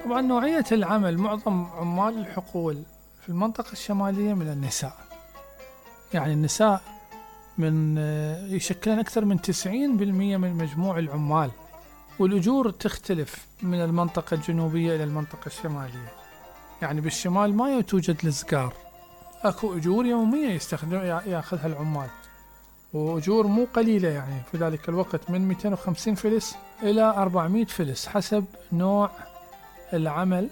طبعا نوعية العمل، معظم عمال الحقول في المنطقة الشمالية من النساء، يعني النساء من يشكلن أكثر من 90% من مجموع العمال، والأجور تختلف من المنطقة الجنوبية إلى المنطقة الشمالية. يعني بالشمال ما توجد الزقار، أكو أجور يومية ياخذها العمال، وأجور مو قليلة، يعني في ذلك الوقت من 250 فلس إلى 400 فلس حسب نوع العمل.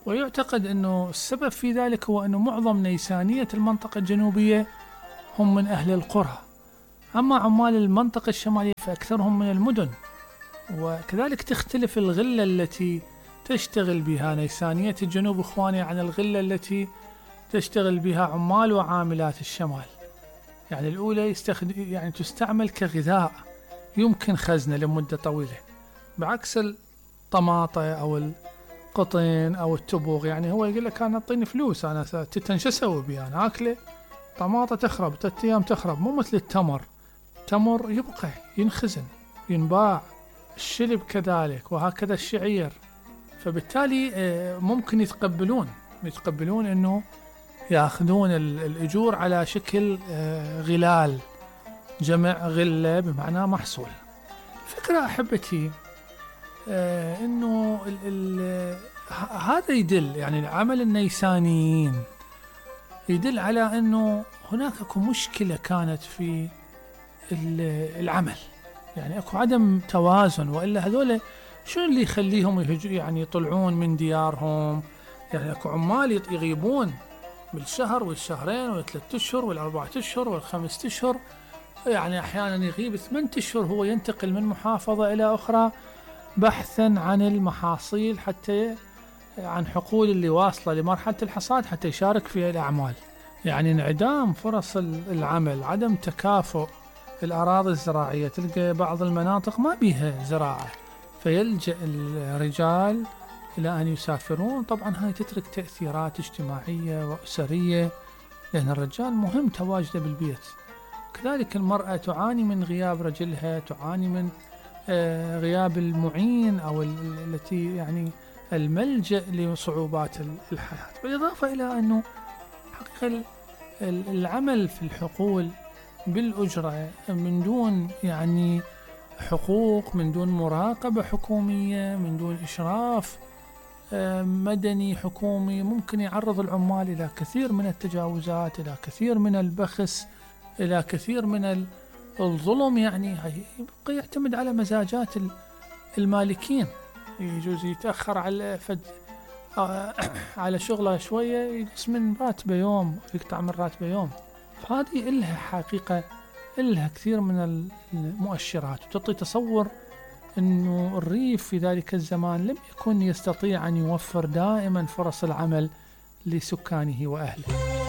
ويعتقد أنه السبب في ذلك هو أنه معظم نيسانية المنطقة الجنوبية هم من أهل القرى، أما عمال المنطقة الشمالية فأكثرهم من المدن. وكذلك تختلف الغلة التي تشتغل بها نيسانية الجنوب إخواني عن الغلة التي تشتغل بها عمال وعاملات الشمال. يعني الأولى يعني تستعمل كغذاء يمكن خزنه لمدة طويلة، بعكس الطماطة أو القطن أو التبوغ. يعني هو يقول لك أنا أعطيني فلوس، أنا تتن شو أسوي بي، أنا أكله طماطة تخرب 3 أيام تخرب، مو مثل التمر. التمر يبقى ينخزن ينباع، الشلب كذلك، وهكذا الشعير. فبالتالي ممكن يتقبلون أنه يأخذون الأجور على شكل غلال، جمع غلة بمعنى محصول. فكرة أحبتي أنه هذا يدل، يعني عمل النيسانيين يدل على أنه هناك أكو مشكلة كانت في العمل، يعني أكو عدم توازن. وإلا هذول شو اللي يخليهم يعني يطلعون من ديارهم؟ يعني أكو عمال يغيبون بالشهر والشهرين والثلاث أشهر والأربعة أشهر والخمسة أشهر، يعني أحيانا يغيب 8 أشهر، هو ينتقل من محافظة إلى أخرى بحثا عن المحاصيل، حتى عن حقول اللي واصلة لمرحلة الحصاد حتى يشارك في الأعمال. يعني انعدام فرص العمل، عدم تكافؤ الأراضي الزراعية، تلقى بعض المناطق ما بيها زراعة فيلجأ الرجال إلى أن يسافرون. طبعا هاي تترك تأثيرات اجتماعية وأسرية، لأن الرجال مهم تواجده بالبيت. كذلك المرأة تعاني من غياب رجلها، تعاني من غياب المعين أو التي يعني الملجأ لصعوبات الحياة. بالإضافة إلى أنه حقيقة العمل في الحقول بالأجرة من دون يعني حقوق، من دون مراقبة حكومية، من دون إشراف مدني حكومي، ممكن يعرض العمال إلى كثير من التجاوزات، إلى كثير من البخس، إلى كثير من الظلم. يعني يبقى يعتمد على مزاجات المالكين، يجوز يتأخر على شغله شوية يقص من راتبه يوم، يقطع من راتبه يوم. فهذه إلها حقيقة، إلها كثير من المؤشرات، وتعطي تصور أنه الريف في ذلك الزمان لم يكن يستطيع أن يوفر دائما فرص العمل لسكانه وأهله.